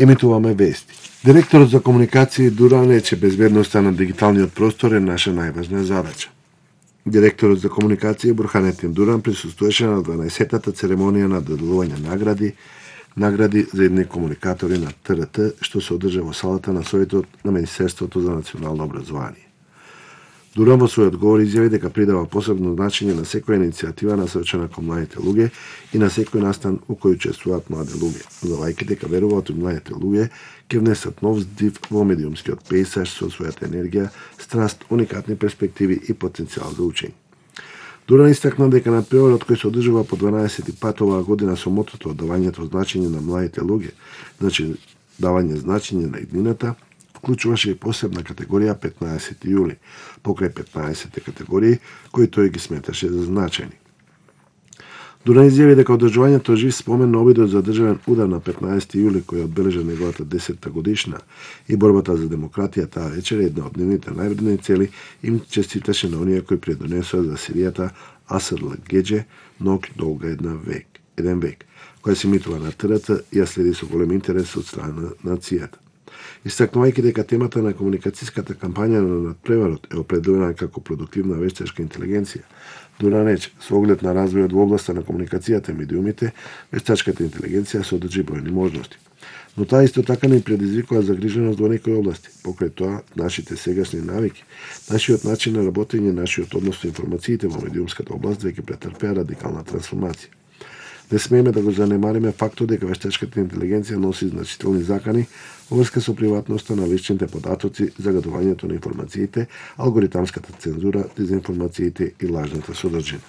Емитуваме вести. Директорот за комуникација Дуран рече безбедноста на дигиталниот простор е наша најважна задача. Директорот за комуникација Бурханетин Дуран присуствуваше на 12-тата церемонија на доделување награди за едни комуникатори на ТРТ, што се одржа во салата на Советот на Министерството за национално образование. Дуран во својот говор изјави дека придава посебно значење на секоја иницијатива насочена кон младите луѓе и на секој настан во кој учествуваат млади луѓе, додавајќи дека веруваат и младите луѓе ќе внесат нов здив во медиумскиот пејзаж со својата енергија, страст, уникатни перспективи и потенцијал за учење. Дуран истакна дека надпреварот кој се одржува по 12 пат оваа година со мотото давањето значење на младите луѓе, значи давање значење на иднината, вклучуваше и посебна категорија 15 јули, покрај 15 категории кои тој ги сметаше за значајни. Дуран изјави дека одржувањето жив спомен на обидот за државен удар на 15 јули кој одбележа неговата 10-та годишна и борбата за демократија таа вечер е една од нивните највредни цели, им честиташе на оние кои предонесоа за Сиријата Асрл Геџе ног долга еден век, која се емитува на ТРТ и ја следи со голем интерес од страна на нацијата. Истакнувајќи дека темата на комуникацијската кампања на надпреварот е определена како продуктивна вештачка интелигенција, Дуран рече, со оглед на развојот во областа на комуникацијата и медиумите, вештачката интелигенција содржи бројни можности. Но таа исто така не предизвикува загриженост во некои области. Покрај тоа, нашите сегашни навики, нашиот начин на работење, нашиот однос со информациите во медиумската област веќе претрпеа радикална трансформација. Не смееме да го занемариме фактот дека вештачката интелигенција носи значителни закани во врска со приватноста на личните податоци, загадувањето на информациите, алгоритамската цензура, дезинформациите и лажната содржина.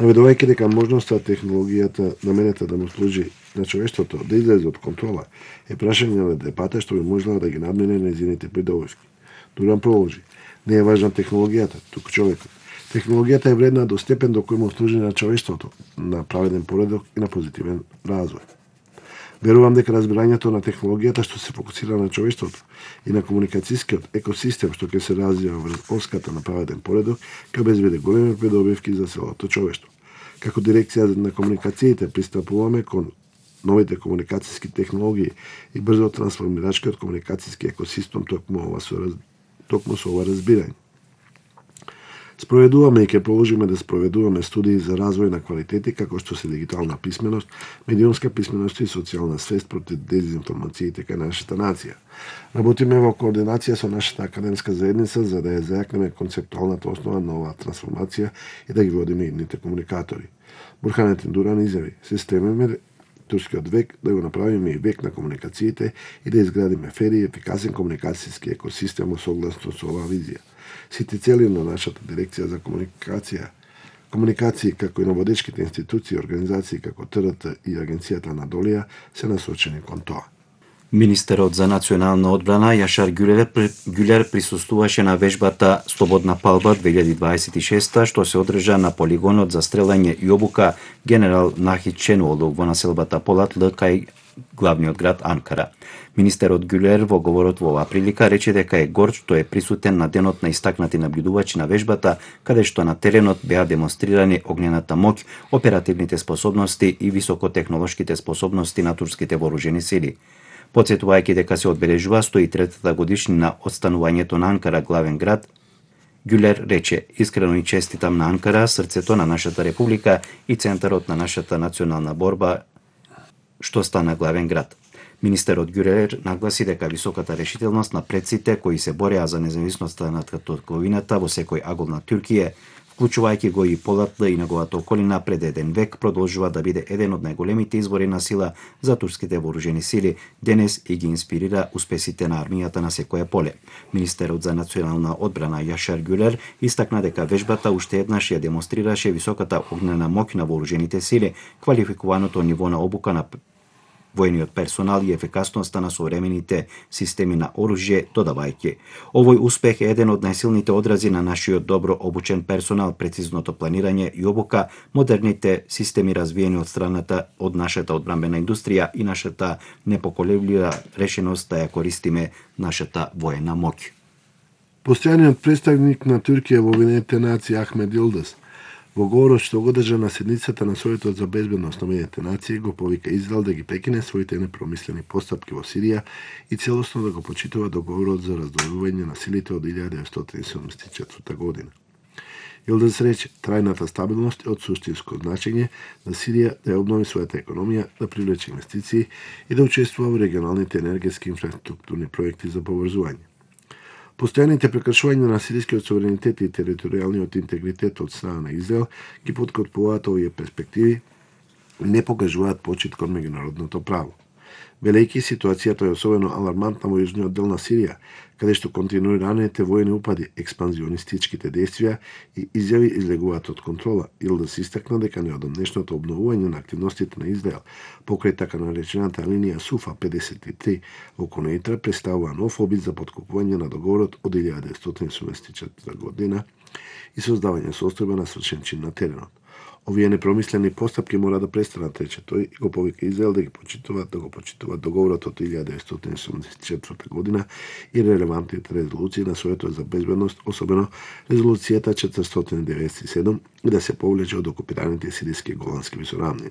Наведувајќи дека можноста технологијата наменета да му служи на човештвото да излезе од контрола е прашање на депата што би можела да ги надмине нејзините придобивки. Дуран продолжи, не е важна технологијата, туку човекот. Технологијата е вредна до степен до кој му служи на човештвото, на праведен поредок и на позитивен развој. Верувам дека разбирањето на технологијата што се фокусира на човештвото и на комуникацијскиот екосистем што ќе се развива врз оската на праведен поредок ќе обезбеди големи придобивки за целото човештво. Како дирекција на комуникациите пристапуваме кон новите комуникацијски технологии и брзо трансформирачкиот комуникацијски екосистем токму со ова разбирање. Спроведуваме и ќе продолжиме да спроведуваме студии за развој на квалитети како што се дигитална писменост, медиумска писменост и социјална свест против дезинформациите кај нашата нација. Работиме во координација со нашата академска заедница за да ја зајакнеме концептуалната основа на оваа трансформација и да ги водиме идните комуникатори. Бурханетин Дуран изјави, се стремиме турскиот век да го направиме и век на комуникациите и да изградиме фер и ефикасен комуникацијски екосистем согласно со оваа визија. Сите цели на нашата дирекција за комуникации како и на водечките институции и организации како ТРТ и Агенцијата на Долија се насочени кон тоа. Министерот за национална одбрана Јашар Ѓулер присуствуваше на вежбата Слободна палба 2026 што се одржа на полигонот за стрелање и обука генерал Нахид Ченуолу во населбата Полатлы кај главниот град Анкара. Министерот Ѓулер во говорот во оваа прилика рече дека е горд што е присутен на денот на истакнати наблюдувачи на вежбата, каде што на теренот беа демонстрирани огнената моќ, оперативните способности и високотехнолошките способности на турските вооружени сили. Потсетувајќи дека се одбележува 103-та годишнина од станувањето на Анкара главен град, Ѓулер рече: искрено и честитам на Анкара, срцето на нашата република и центарот на нашата национална борба што стана главен град. Министерот Ѓулер нагласи дека високата решителност на предците кои се бореа за независноста на татковината во секој агол на Туркија, вклучувајќи го и Полатлы и неговата околина пред еден век, продолжува да биде еден од најголемите извори на сила за турските вооружени сили денес и ги инспирира успесите на армијата на секое поле. Министерот за национална одбрана Јашар Ѓулер истакна дека вежбата уште еднаш ја демонстрираше високата огнена моќ на вооружените сили, квалификуваното ниво на обука на војниот персонал и ефикасноста на современите системи на оружје, додавајќи: овој успех е еден од најсилните одрази на нашиот добро обучен персонал, прецизното планирање и обука, модерните системи развиени од страната од нашата одбранбена индустрија и нашата непоколеблива решеност да ја користиме нашата воена моќ. Постојаниот представник на Туркија во Обединетите нации Ахмед Јилдыз Во говорот што го одржа на седницата на Советот за безбедност на Обединетите нации, го повика Израел да ги прекине своите непромислени постапки во Сирија и целосно да го почитува договорот за раздвојување на силите од 1974 година. Илдес рече, трајната стабилност е од суштинско значење на Сирија да ја обнови својата економија, да привлече инвестиции и да учествува во регионалните енергетски инфраструктурни проекти за поврзување. Постојаните прекршувања на сирискиот суверенитет и територијалниот интегритет од страна на Израел ги поткрепуваат овие перспективи и не покажуваат почит кон меѓународното право. Велејќи ситуацијата е особено алармантна во јужниот дел на Сирија, каде што континуираните војни упади, експанзионистичките действија и изјави излегуваат од контрола, или да се истакна дека неодамнешното обновување на активностите на Израел покрај така наречената линија Суфа 53 во Конејтра представува нов обид за поткопување на договорот од 1974 година и создавање состојба на свршен чин на теренот. Овие непромислени постапки мора да престанат, рече тој, и го повика Израел да го почитуваат договорот од 1974 година и релевантните резолуции на Советот за безбедност, особено резолуцијата 497, и да се повлече од окупираните сириски голандски висоравнини.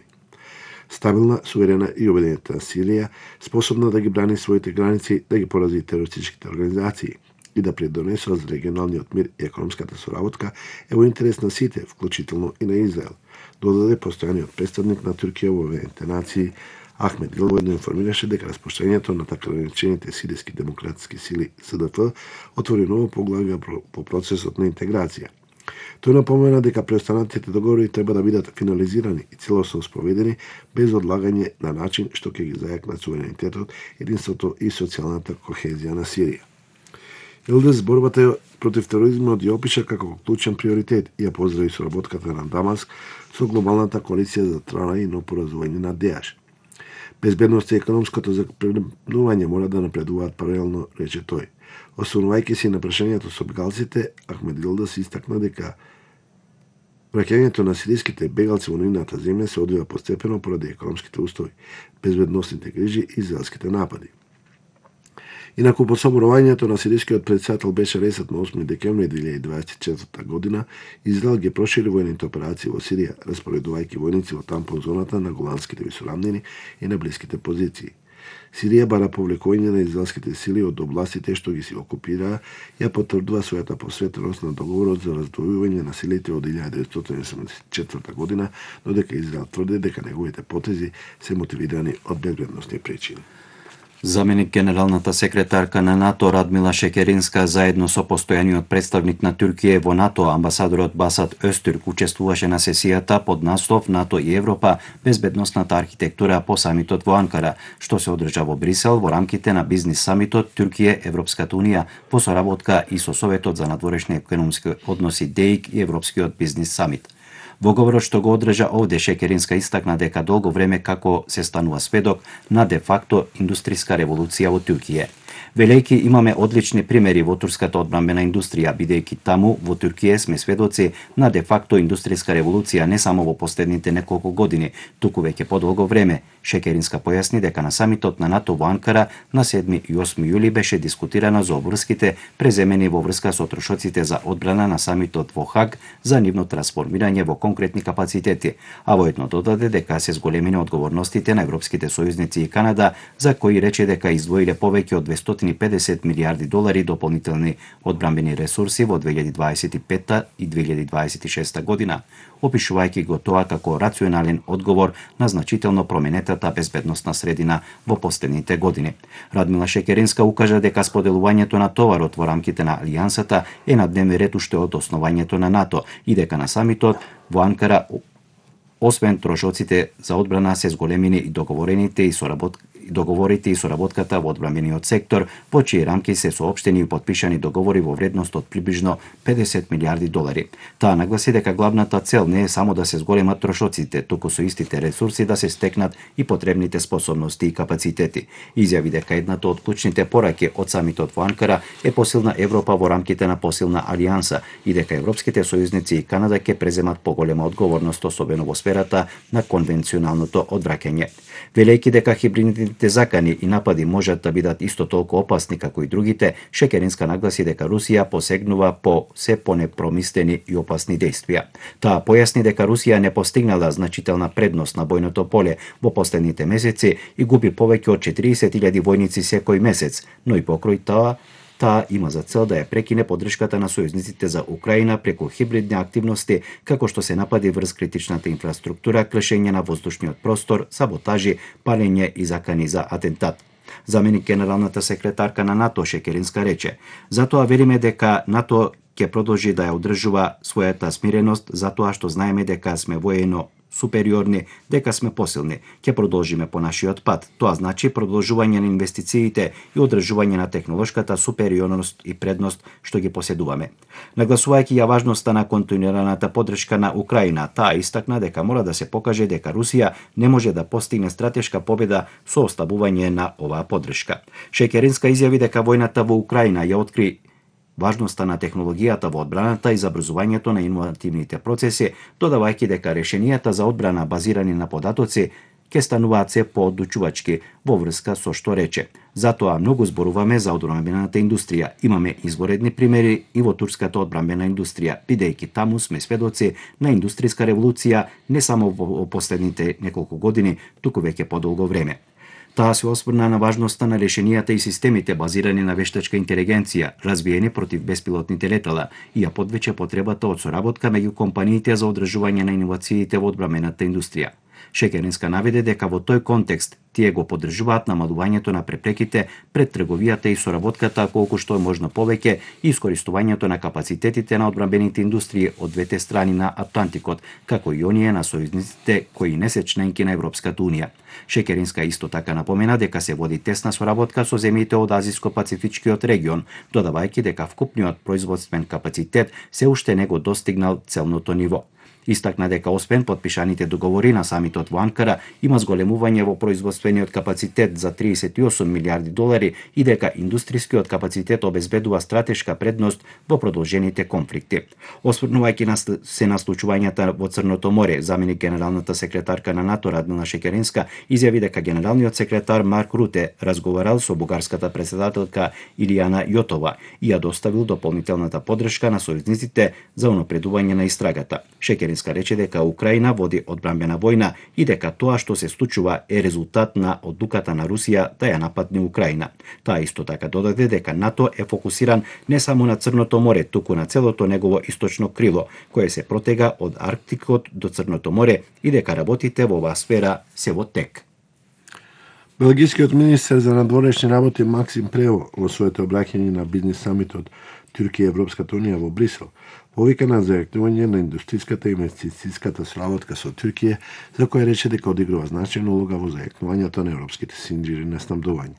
Стабилна, суверена и обединета Сирија, способна да ги брани своите граници, да ги порази терористичките организации и да придонесува за регионалниот мир и економската соработка е во интерес на сите, вклучително и на Израел, додаде постојаниот представник на Туркија во Обединетите нации Ахмед Дил воедно информираше дека распуштањето на така наречените сириски демократски сили СДФ отвори ново поглавје по процесот на интеграција. Тој напомена дека преостанатите договори треба да бидат финализирани и целосно спроведени без одлагање на начин што ќе ги зајакнат суверенитетот, единството и социјалната кохезија на Сирија. Илдес борбата против тероризмот ја опиша како клучен приоритет и ја поздрави соработката на Дамаск со глобалната коалиција за трајно поразување на ДЕАШ. Безбедност и економското запредување мора да напредуваат паралелно, рече тој. Освонувајќи се на прашањето со бегалците, Ахмед Илдес истакна дека враќањето на сириските бегалци во нивната земја се одвива постепено поради економските устови, безбедносните грижи и израелските напади. Инаку по соборувањето на сирискиот председател беше ресет на 8 декември 2024 година, Израел ги прошири војните операции во Сирија, распоредувајќи војници во тампон зоната на голандските висоравнини и на блиските позиции. Сирија бара повлекување на израелските сили од областите што ги си окупираа, ја потврдува својата посветеност на договорот за раздвојување на силите од 1974 година, додека Израел тврди дека неговите потези се мотивирани од безбедносни причини. Заменик генералната секретарка на НАТО Радмила Шекеринска заедно со постојаниот представник на Туркија во НАТО амбасадорот Басат Öztürk учествуваше на сесијата под наслов НАТО и Европа безбедносната архитектура по самитот во Анкара, што се одржа во Брисел во рамките на бизнис самитот Туркија Европската унија во соработка и со Советот за надворешни економски односи ДЕИК и Европскиот бизнис самит. Во говорот што го одржа овде Шекеринска истакна дека долго време како се станува сведок на де-факто индустријска револуција во Туркија. Велејќи имаме одлични примери во турската одбранбена индустрија, бидејќи таму во Туркија сме сведоци на де-факто индустријска револуција не само во последните неколку години, туку веќе подолго време. Шекеринска појасни дека на самитот на НАТО во Анкара на 7 и 8 јули беше дискутирано за обврските преземени во врска со трошоците за одбрана на самитот во Хаг за нивно трансформирање во конкретни капацитети, а воедно додаде дека се зголемени одговорностите на европските сојузници и Канада, за кои рече дека издвоиле повеќе од 250 милиарди долари дополнителни одбранбени ресурси во 2025 и 2026 година, опишувајќи го тоа како рационален одговор на значително променетата безбедносна средина во последните години. Радмила Шекеринска укажа дека споделувањето на товарот во рамките на алијансата е на дневен ред уште од основањето на НАТО и дека на самитот во Анкара освен трошоците за одбрана се зголемени и договорите и соработката во одбранбениот сектор, во чии рамки се соопштени и потпишани договори во вредност од приближно 50 милиарди долари. Таа нагласи дека главната цел не е само да се зголемат трошоците, туку со истите ресурси да се стекнат и потребните способности и капацитети. Изјави дека едната од клучните пораки од самитот во Анкара е посилна Европа во рамките на посилна алијанса и дека европските сојузници и Канада ќе преземат поголема одговорност, особено во сферата на конвенционалното одвраќање. Велејќи дека хибридните Измамите закани и напади можат да бидат исто толку опасни како и другите. Шекеринска нагласи дека Русија посегнува по се понепромислени и опасни действија. Таа појасни дека Русија не постигнала значителна предност на бојното поле во последните месеци и губи повеќе од 40.000 војници секој месец, но и покрој таа има за цел да ја прекине поддршката на сојузниците за Украина преку хибридни активности, како што се напади врз критичната инфраструктура, кршење на воздушниот простор, саботажи, палење и закани за атентат. Заменик генералната секретарка на НАТО Шекеринска рече: "Затоа вериме дека НАТО ќе продолжи да ја одржува својата смиреност, затоа што знаеме дека сме воено супериорни, дека сме посилни. Ќе продолжиме по нашиот пат. Тоа значи продолжување на инвестициите и одржување на технолошката супериорност и предност што ги поседуваме." Нагласувајќи ја важноста на континуираната поддршка на Украина, таа истакна дека мора да се покаже дека Русија не може да постигне стратешка победа со ослабување на оваа поддршка. Шекеринска изјави дека војната во Украина ја откри важноста на технологијата во одбраната и забрзувањето на иновативните процеси, додавајќи дека решенијата за одбрана базирани на податоци ќе стануваат се поодлучувачки во врска со што рече: "Затоа многу зборуваме за одбранбената индустрија. Имаме изворедни примери и во турската одбранбена индустрија, бидејќи таму сме сведоци на индустријска револуција не само во последните неколку години, туку веќе подолго време." Таа се осврна на важноста на решенијата и системите базирани на вештачка интелигенција, развиени против беспилотните летала, и ја подвече потребата од соработка меѓу компаниите за одржување на иновациите во одбранбената индустрија. Шекеринска наведе дека во тој контекст тие го поддржуваат намалувањето на препреките пред трговијата и соработката колку што е можно повеќе и искористувањето на капацитетите на одбранбените индустрии од двете страни на Атлантикот, како и оние на сојузниците кои не се членки на Европската унија. Шекеринска исто така напомена дека се води тесна соработка со земјите од Азиско-Пацифичкиот регион, додавајќи дека вкупниот производствен капацитет се уште не го достигнал целното ниво. Истакна дека освен подпишаните договори на самитот во Анкара, има зголемување во производствениот капацитет за 38 милиарди долари и дека индустријскиот капацитет обезбедува стратешка предност во продолжените конфликти. Осврнувајќи се на случувањата во Црното море, заменик генералната секретарка на НАТО Радмила Шекеринска изјави дека генералниот секретар Марк Руте разговарал со бугарската претседателка Илијана Јотова и ја доставил дополнителната поддршка на сојузниците за унапредување на истрагата. Шекеринска рече дека Украина води одбранбена војна и дека тоа што се случува е резултат на одлуката на Русија да ја нападне Украина. Таа исто така додаде дека НАТО е фокусиран не само на Црното море, туку на целото негово источно крило, кое се протега од Арктикот до Црното море и дека работите во оваа сфера се во тек. Белгискиот министер за надворешни работи Максим Прево во своето обраќање на бизнис самитот Туркија и Европската унија во Брисел повика на зајакнување на индустријската и инвестицијската соработка со Туркија, за која рече дека одигрува значајна улога во зајакнувањето на европските синџири на снабдување.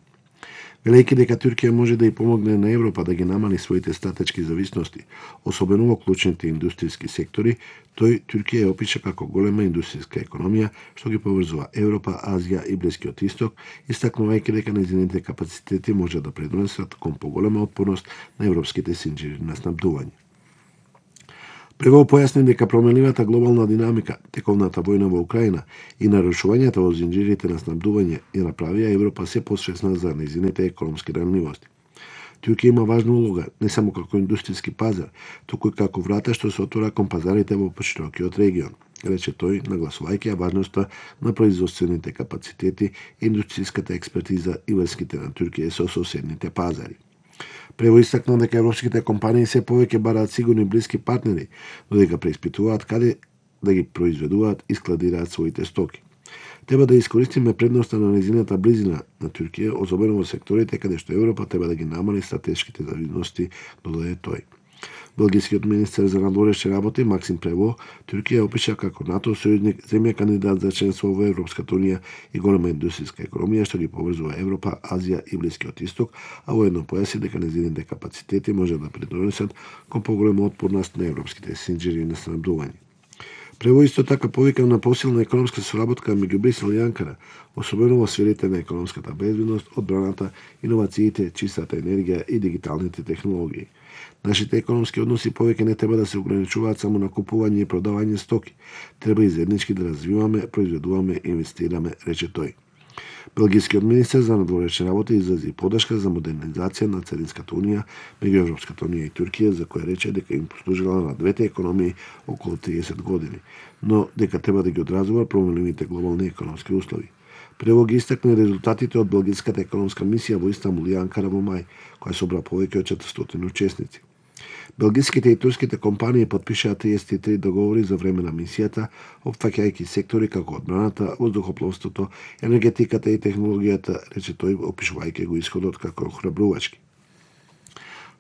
Велејќи дека Туркија може да ја помогне на Европа да ги намали своите стратешки зависности, особено во клучните индустријски сектори, тој Туркија ја опиша како голема индустријска економија што ги поврзува Европа, Азија и Блискиот Исток, истакнувајќи дека нејзините капацитети може да предонесат кон поголема отпорност на европските синџири на снабдување. Прево појасни дека променливата глобална динамика, тековната војна во Украина и нарушувањата во зинџирите на снабдување ја направија Европа се посвесна за нејзините економски ранливости. Туркија има важна улога не само како индустријски пазар, туку и како врата што се отвора кон пазарите во поширокиот регион, рече тој, нагласувајќи ја важноста на производствените капацитети, индустријската експертиза и врските на Туркија со соседните пазари. Прево истакна дека европските компании се повеќе бараат сигурни блиски партнери, но дека преиспитуваат каде да ги произведуваат и складираат своите стоки. Треба да искористиме предноста на нејзината близина на Туркија, особено во секторите каде што Европа треба да ги намали стратешките зависности, додаде тој. Белгискиот министер за надворешни работи Максим Прево Туркија опиша како НАТО сојузник, земја кандидат за членство во Европската унија и голема индустријска економија што ги поврзува Европа, Азија и Блискиот Исток, а воедно појаси дека нејзините капацитети може да придонесат кон поголема отпорност на европските синџири на снабдување. Прево исто така повика на посилна економска соработка меѓу Брисел и Анкара, особено во сферите на економската безбедност, одбраната, иновациите, чистата енергија и дигиталните технологии. Нашите економски односи повеќе не треба да се ограничуваат само на купување и продавање стоки. Треба и заеднички да развиваме, произведуваме и инвестираме, рече тој. Белгискиот министер за надворешни работи изрази поддршка за модернизација на Царинската унија меѓу Европската унија и Туркија, за која рече дека им послужила на двете економии околу 30 години, но дека треба да ги одразува променливите глобални економски услови. Прво ги истакна резултатите од белгиската економска мисија во Истанбул и Анкара во мај, која собра повеќе од 400 учесници. Белгиските и турските компании потпишаа 33 договори за време на мисијата, опфаќајќи сектори како одбраната, воздухопловството, енергетиката и технологијата, рече тој, опишувајќи го исходот како охрабрувачки.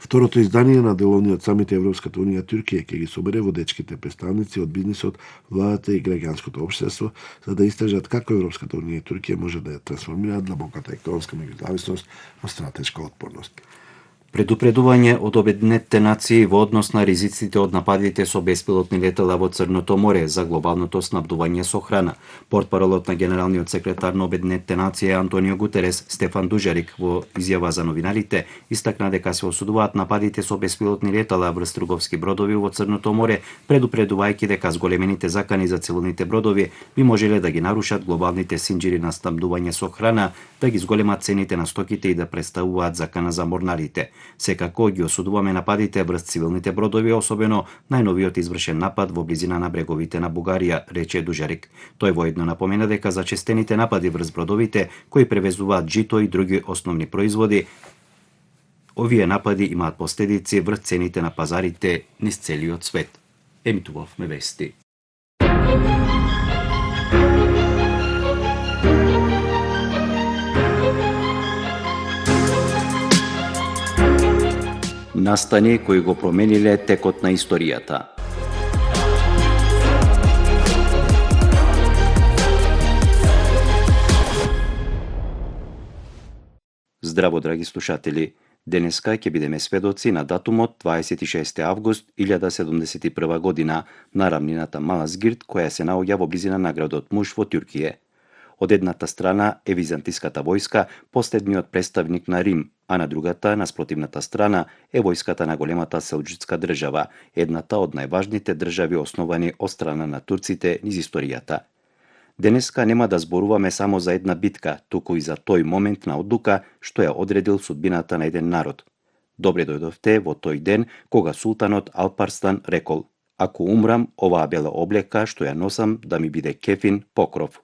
Второто издание на деловниот самит Европската унија Туркија ќе ги собере водечките представници од бизнисот, владата и граѓанското општество, за да истражат како Европската унија и Туркија може да ја трансформираат длабоката економска меѓузависност во стратешка отпорност. Предупредување од Обединетите нации во однос на ризиците од нападите со беспилотни летала во Црното море за глобалното снабдување со храна. Портпаролот на генералниот секретар на Обединетите нации Антонио Гутерес, Стефан Дужарик, во изјава за новинарите, истакна дека се осудуваат нападите со беспилотни летала врз трговски бродови во Црното море, предупредувајќи дека зголемените закани за цивилните бродови би можеле да ги нарушат глобалните синџири на снабдување со храна, да ги зголемат цените на стоките и да представуваат закана за морнарите. Секако ги осудуваме нападите врз цивилните бродови, особено најновиот извршен напад во близина на бреговите на Бугарија, рече Дужарик. Тој воедно напомена дека зачестените напади врз бродовите кои превезуваат жито и други основни производи, овие напади имаат последици врз цените на пазарите низ целиот свет. Емитувавме вести. Настани кои го промениле текот на историјата. Здраво, драги слушатели! Денеска ќе бидеме сведоци на датумот 26 август 1071 година на рамнината Малазгирд, која се наоѓа во близина на градот Муш во Туркија. Од едната страна е византиската војска, последниот представник на Рим, а на другата, на спротивната страна, е војската на големата селџуцка држава, едната од најважните држави основани од страна на турците низ историјата. Денеска нема да зборуваме само за една битка, туку и за тој момент на одлука што ја одредил судбината на еден народ. Добре дојдовте во тој ден кога султанот Алпарстан рекол: "Ако умрам, оваа бела облека што ја носам да ми биде кефин покров."